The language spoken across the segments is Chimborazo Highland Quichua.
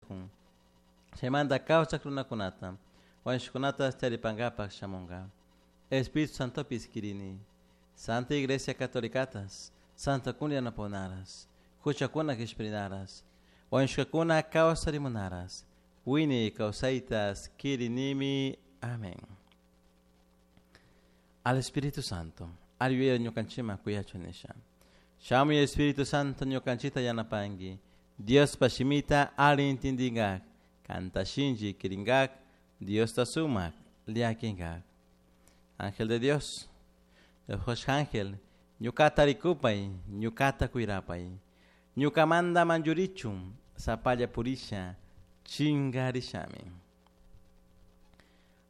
Kun. Chaymanta kawsak runakunata, wañushkunata charipankapaq shamunka. Espíritu Santopis kirini. Santa Iglesia Catolicatas, Santa Kun yanapunaras, huchakuna qishpirinaras, wañushkakuna kawsarimunaras, wiñay kawsaytas kirinimi. Amén. Al Espíritu Santo, al yuyay ñukanchikman kuyachun nisha. Shamuy Espíritu Santo ñukanchikta yanapanki, Diospa shimita alli intindinkak, kanta shinchi kirinkak, Diosta sumak llakinkak. Ángel de Dios, Dios ángel, ñukata rikupay, ñukata kuyrapay, ñukamanta manllurichun, sapalla purisha, chinkarishami.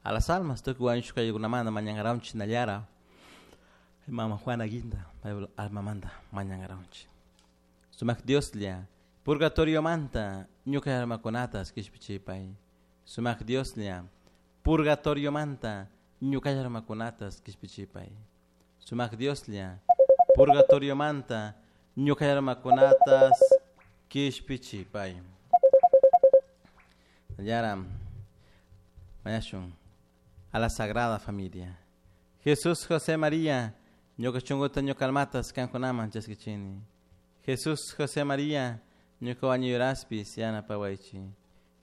A las almas tukuy wañushka ayllunamanta mañankaranchik nallara, mama Juana Guinda, almamanta mañankaranchik. Sumak Dioslla, purgatoriomanta ñuka almakunatas kishpichipay. Sumak Dioslla, purgatoriomanta ñuka almakunatas kishpichipay. Sumak Dioslla, purgatoriomanta ñuka almakunatas kishpichipay. Yara, mañashun a la Sagrada Familia. Jesús, José, María, ñuka shunkuta ñuka almatas kankunaman chaskichini. Jesús, José, María, ñuka wañuyraspis yanapawaychik.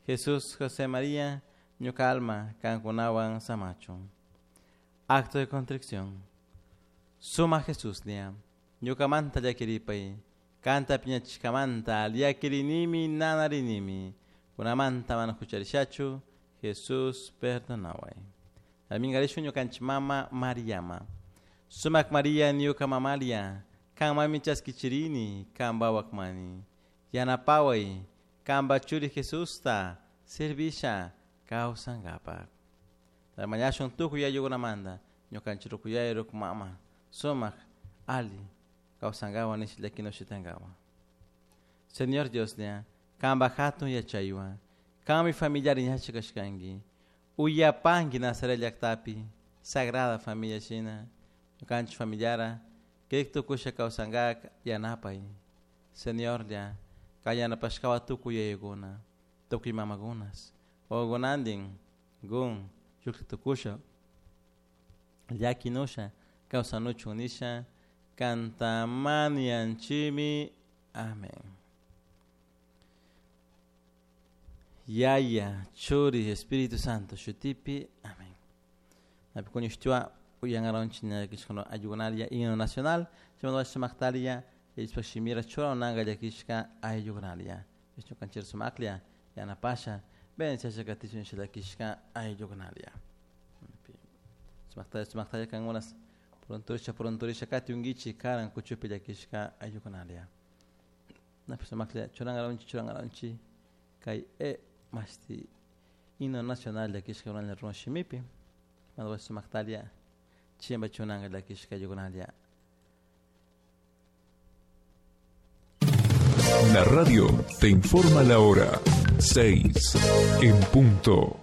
Jesús, José, María, ñuka alma kankunawan samachun. Acto de contrición. Suma Jesúslla, ñukamanta llakiripay, kanta piñachishkamanta llakirinimi nanarinimi, kunamanta mana hucharishachu, Jesús perdonaway. Minkarishun ñukanchik mama Mariama. Sumak María ñuka mamalia, kanmanmi chaskichirini, kanpa wakmani. Yanapaway, kanpa churi Jesusta, servisha kawsankapak. Mañashun tukuy ayllukunamanta, ñukanchik rukuyay ruku mama, sumak alli kawsankawan nisha llakinushitankawak. Señor Dioslla, kanpa hatun yachaywan, kanmi familiar yachak kashkanki, uyapanki Nazaret llaktapi, Sagrada Familia shina, ñukanchik familiara, kirik tukusha kawsankak yanapay. Señorlla, kay yanapashkawan tukuy yayakuna, tukuy mamakunas, wawakunantin, gun, shuklla tukusha, llakinusha, kawsanuchun nisha, kantamanianchimi. Amén. Yaya, Churi, Espíritu Santo, shutipi. Amén. Napikuñushtua uyangaronchi ñakishkano ayllukunaria himno nacional, chaymantapash sumaktaria, yachishpa shimira churananka llakishka ayllukunaria. Ñukanchik sumaklla yanapasha, bendiciasha katichun llakishka ayllukunaria. Sumaktalla sumaktalla kankunas pronturisha pronturisha katiunkichik karan kuchupi llakishka ayllukunaria. Napi sumaklla churankaronchik churankaronchik kay e mashti himno nacional llakishka runalla runa shimipi, chaymantapash sumaktalla chimba chunanka llakishka ayllukunaria. La radio te informa la hora 6 en punto.